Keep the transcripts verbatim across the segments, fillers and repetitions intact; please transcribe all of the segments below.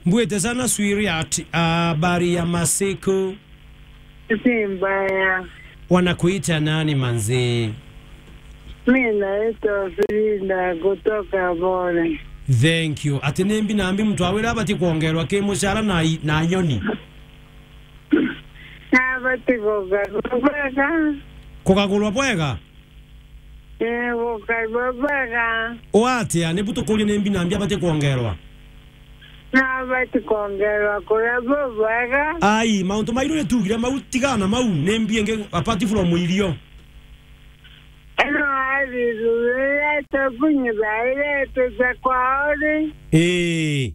Mbwite sana sweetheart, habari ya masiku? Si mbaya. Wanakuita nani manzi? Mi naitwa Frida kutoka Bore. Thank you. Ati ni mbi na mbi muntu awira abati kwongerwa ki mucara na i-, na nyoni? Nabati kugarurwa bwega. Kugagurwa bwega? Ee, gukarua bwega. Watia, nibu tukuria ni mbi na mbi abati kwongerwa? Nabati kwongerwa kuria bubwega. Ai, mauntu mairu ni tugire mau, tigana mau, ni mbi ingi apart from irio. Ino athithurire tokunyi bairete cia kwao ri. Ii.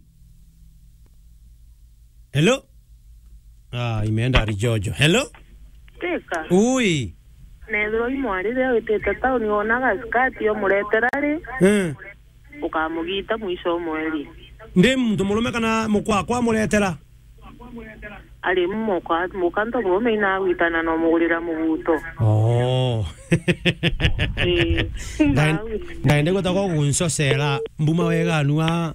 Hello? Ah, imeenda rijojo. Hello? Teka. Ui. Nethirwa i mwari riria witite tauni, wona gasikati umuretera ri, eh, ukamugita mwisho o mweri. Ndi muntu murume kana mukwa akwa amuretera? Ari muka, muka nto murume inagwitana na umugurira muguto. Oh. Ii. Ndae-, ndaende gwita gwa guncocera mbuma wega anua.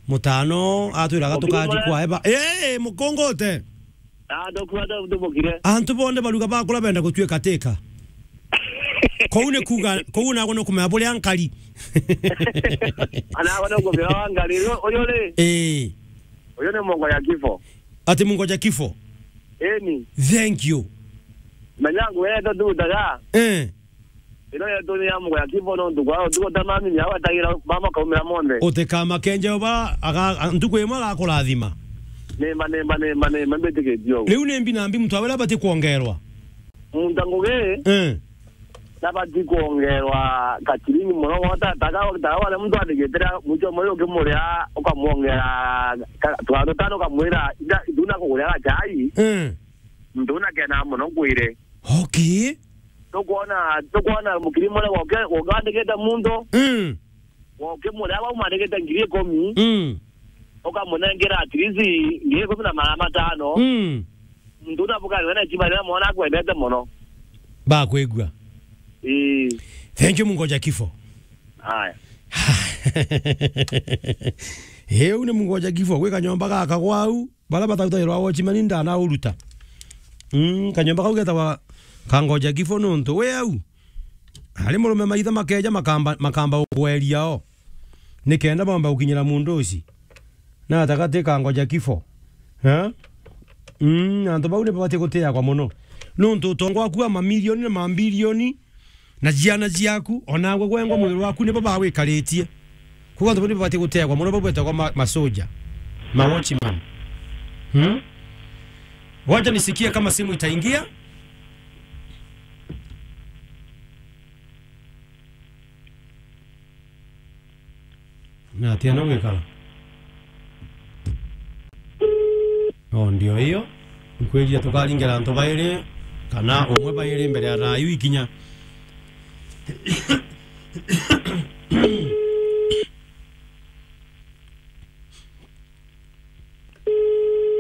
Mutano atwiraga tukaji kwa eba. Ee, mukungute. Ah, ndokua ndo ndumukire. Antu bonde baruga bakura benda gutuika tika. Kou ni kuga, kou nagwe ni kumenya buria nkari. Anagwe ni kumenya wa nkari. Uyu, uyu ri? Ee. Uyu ni Mungoja Kifo. Ati Mungoja Kifo? Eni. Thank you. Menya ngugi yetu ndutaga. Eh. Ino yetu ni ya Mungoja Kifo nontu kwa ntuku ta mami ni agwetagira mama kaumira monthe. Utikamakenje uba aga-, a-, ntuku imwe agakurathima. Nimba, nimba, nimba, nimba, mbitikitie uguo. Riu ni mbi na mbi muntu awira abati kwongerwa? Muntu a ngugi, eh, nabati kwongerwa kachiringi mono, wota taka, taka wale muntu athigitira mwicho moyo ukimuria ukamwongera ka-, twandu tano ukamwira, "Ija, nduna kuguria gachai." Eh. Muntu una kena mono ngwire. Okay. Tukwona, tukwona mukiri mure woke, woke wandikite muntu. Mm. Woke muria bau mandikite ngiri ikumi. Mm. Ukamunengera at least ngiri ikumi na magana matano. Mm. Muntu una bukari wena chima na mwana akwendete mono. Bakwigua. Ii. Thank you, Mungoja Kifo. Haya. Heu ni Mungoja Kifo, gwi kanyomba gaka gwau. Bara batautagirwa watchman ndanauruta. Mm, kanyomba kau getagwa Kangoja Kifo nontu we au. Ari murume maitha makeja makamba, makamba ugweria o. Nikenda bomba gukinyira mundu uci. Na atagati Kangoja Kifo. Eh? Mm, antu bau ni babati gutiagwa mono. Nontu utonga waku wa mamilioni na mambilioni na ciana ciaku, o nawe gwengwa mwiri waku nibo bawikaritie. Koguo antu bau nibo bati gutegwa mono, bau betagwa ma-, masoja, ma watchman. Hmm? Wacha nisikie kama simu itaingia. Na atia no gwikara? O, ndio hiyo. Nkwirire tukaringira antu bairi, kana umwe bairi mbere ya thaa iu ikinya.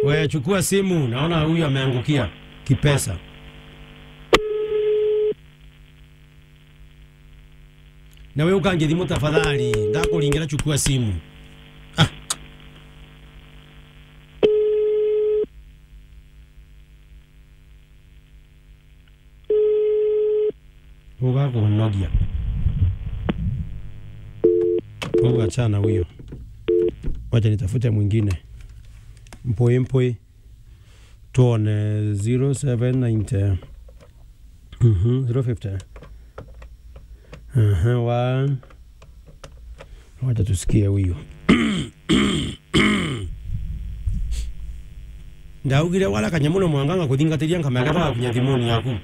We, chukua simu, naona huyu ameangukia kipesa. Na we ukange thimu tafadhali, ndakuringira, chukua simu. Ah. Ugakunogia. Uga achana huyo. Wacha nitafute mwingine. Mpoi, mpoi. Tuone zero seven ninety. Mhm, zero fifty. Aha, one. Wacha tusikie huyu. Ndaugire wala kanyamu no mwanga ngakuthingatiria nkamenya kaba gakinya thimuni yaku.